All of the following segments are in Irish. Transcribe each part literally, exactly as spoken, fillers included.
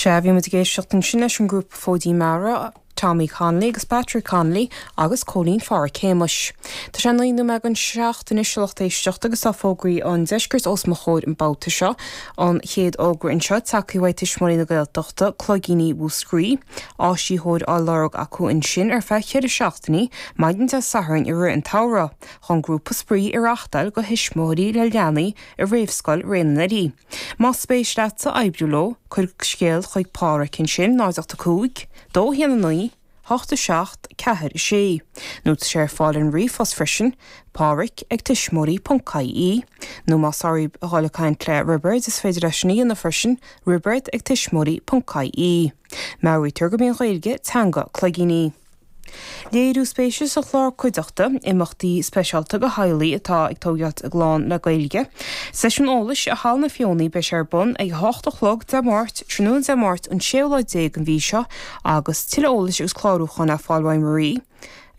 Sea bhí muid ag éisteacht ansin leis an grúpa Fóidín Mara, Tommy Connolly agus Patrick Connolly agus Cóilín Pháraic Shéamais. Tá sé naoi nóiméad don seacht anois a lucht éisteachta agus tá fógraí an deiscirt os mo chomhair an babhta seo an chéad fhógra anseo tagtha uaidh Tuismitheoirí na Gaeltachta Cloigíní Mhúscraí, áisitheoir á lorg acu ansin ar feadh ceithre seachtainí maidin Dé Sathairn i rith an tsamhraidh chun grúpa spraoi a reáchtáil do thuismitheoirí le leanaí i réamhscoil Ré na nDoirí. Más spéis leatsa oibriú leo, cuir scéal chuig Páraic ansin náid ocht a cúig, dó haon a naoi, hocht a seacht, ceathair a sé. Nó tá sé ar fáil ar ríomhphost freisin, Páraic ag tuismitheoirí ponc ie, nó más oraibh a dhul ag caint le Roibeard is féidir leis sin a dhéanamh freisin, Roibeard ag tuismitheoirí ponc ie. Meabhraítear gurb í an Ghaeilge teanga cloigíní. Léiriú spéise sa chlár cuideachta, imeachtaí speisialta do theaghlaigh atá ag tógáil a gclann le Gaeilge. Seisiún eolais i Halla na Feothanaí beidh sé ar bun ag a hocht a chlog Dé Máirt, tráthnóna Dé Máirt an séú lá déag den mhí seo agus tuilleadh eolais agus clárúcháin le fáil uaidh Marie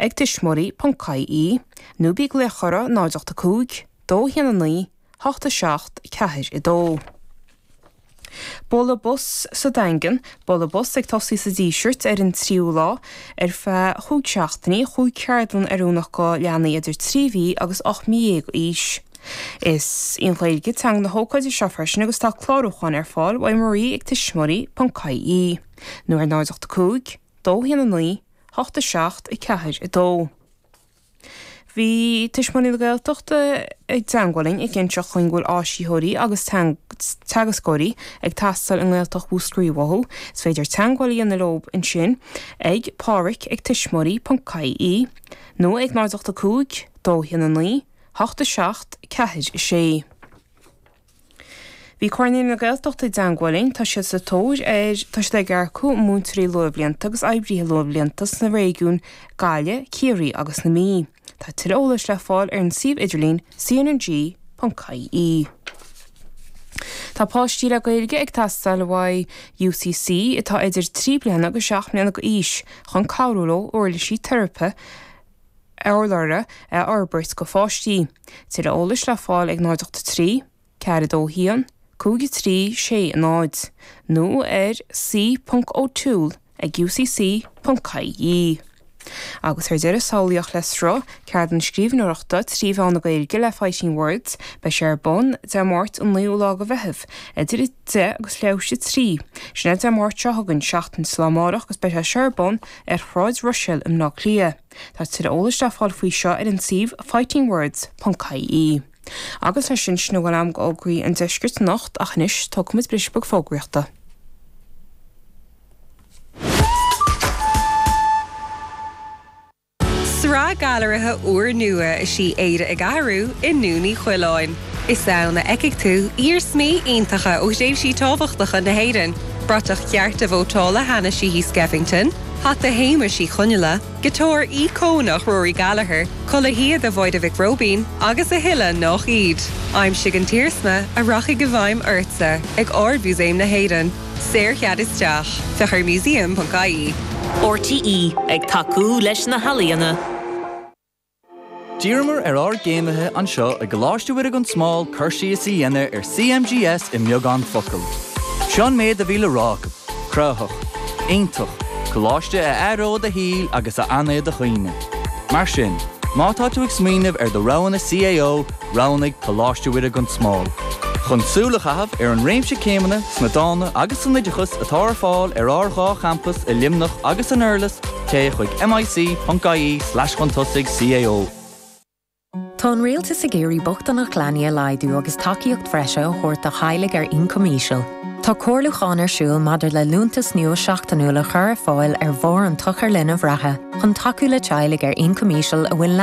ag tuismitheoirí ponc ie nó bí ag glaoch orthu náid ocht a cúig, dó haon a naoi, hocht a seacht, ceathair a dó. Bualadh bos sa Daingean, bualadh bos ag tosaí sa Díseart ar an tríú lá ar feadh chúig seachtainí, chúig cheardlann oiriúnach do leanaí idir trí mhí agus ocht mí dhéag d'aois. Is í an Ghaeilge teanga na hócáide seo freisin agus tá clárúchán ar fáil uaidh Marie ag tuismitheoirí ponc ie nó ar náid ocht a cúig, dó haon a naoi, hocht a seacht, ceathair a dó. Bhí Tuismitheoirí na Gaeltachta i dteagmháil linn ag inseacht dúinn go bhfuil áisitheoirí agus teagascóirí ag teastáil i nGaeltacht Mhúscraí uathu. Is féidir teagmháil a dhéanamh leo ansin ag Páraic ag tuismitheoirí ponc ie nó ag náid ocht a cúig, dó haon a naoi, hocht a seacht, ceathair a sé. Bhí Comhairle na Gaeltachta i dteagmháil linn, tá siad sa tóir ar tá siad ag earcú múinteoirí luathbhlianta agus oibrithe luathbhlianta sna réigiúin Gaillimh, Ciarraí agus na Mí. Tá tuilleadh eolais le fáil ar an suíomh idirlín cnng.ie. Tá páistí le Gaeilge ag teastáil uaidh UCC atá idir trí bliana agus seacht mbliana d'aois chun cabhrú leo uirlisí teiripe urlabhra a fhorbairt do pháistí. Tuilleadh eolais le fáil ag náid ocht trí, ceathair dó haon, cúig a trí sé náid, nó ar c.o'toole ag ucc.ie. Agus ar deireadh samhlaíocht le sruth, ceardlann scríbhneoireachta trí mheán na Gaeilge le Fighting Words, beidh sé ar bun Dé Máirt an naoú lá de Mheitheamh, idir a deich agus leathuair tar éis a trí. Sin é Dé Máirt seo chugainn seachtain is lá amárach agus beidh sé seo ar bun ar Shráid Ruiséal i mBleá Cliath. Tá tuilleadh eolais le fáil faoi seo ar an suíomh fightingwords.ie. Agus leis sin sin a bhfuil agam d'fhógraí an deiscirt anocht ach anois tógfaimid briseadh beag fógraíochta. Sraith gailearaithe úrnua is í Éire ag Athrú i nDún Uí Choileáin. Is ann a fheicfidh tú iarsmaí iontacha ó thréimhsí tábhachtacha na hÉireann, bratach chearta vótála Hanna Sheehy Skeffington, hata Shéamais Uí Chonghaile, giotár íocónach Rory Gallagher, culaith shíoda Mháire Mhic Róibín agus a thuilleadh nach iad. Aimsigh an t-iarsma a rachaidh i bhfeidhm ortsa ag Ard-Mhúsaem na hÉireann. Saorchead isteach. Féach ar museum.ie. RTÉ ag tacú leis na healaíona. D'iarramar ar ár gcéimithe anseo i gColáiste Mhuire gan Smál cur síos a dhéanamh ar CMGS i mbeagán focal. Seo an méid a bhí le rá acu, cruthaitheach, iontach, coláiste a athróidh do shaol agus a fhanfaidh i do chuimhne. Mar sin, má tá tú ag smaoineamh ar do roghanna CAO, roghnaigh Coláiste Mhuire gan Smál. Chun súil a chaitheamh ar an réimse céimeanna sna dána agus san oideachas atá ar fáil ar ár dhá champas i Luimneach agus san Durlas, téigh chuig mic.ie slash chun tosaigh CAO. Tá an rialtas ag iarraidh bochtaineacht leanaí a laghdú agus tacaíocht bhreise a thabhairt do theaghlaigh ar ioncam íseal. Tá comhairliúchán ar siúl maidir le liúntas nua seachtainiúil a chur ar fáil ar bharr an tsochair linbh reatha, chun tacú le teaghlaigh ar ioncam íseal a bhfuil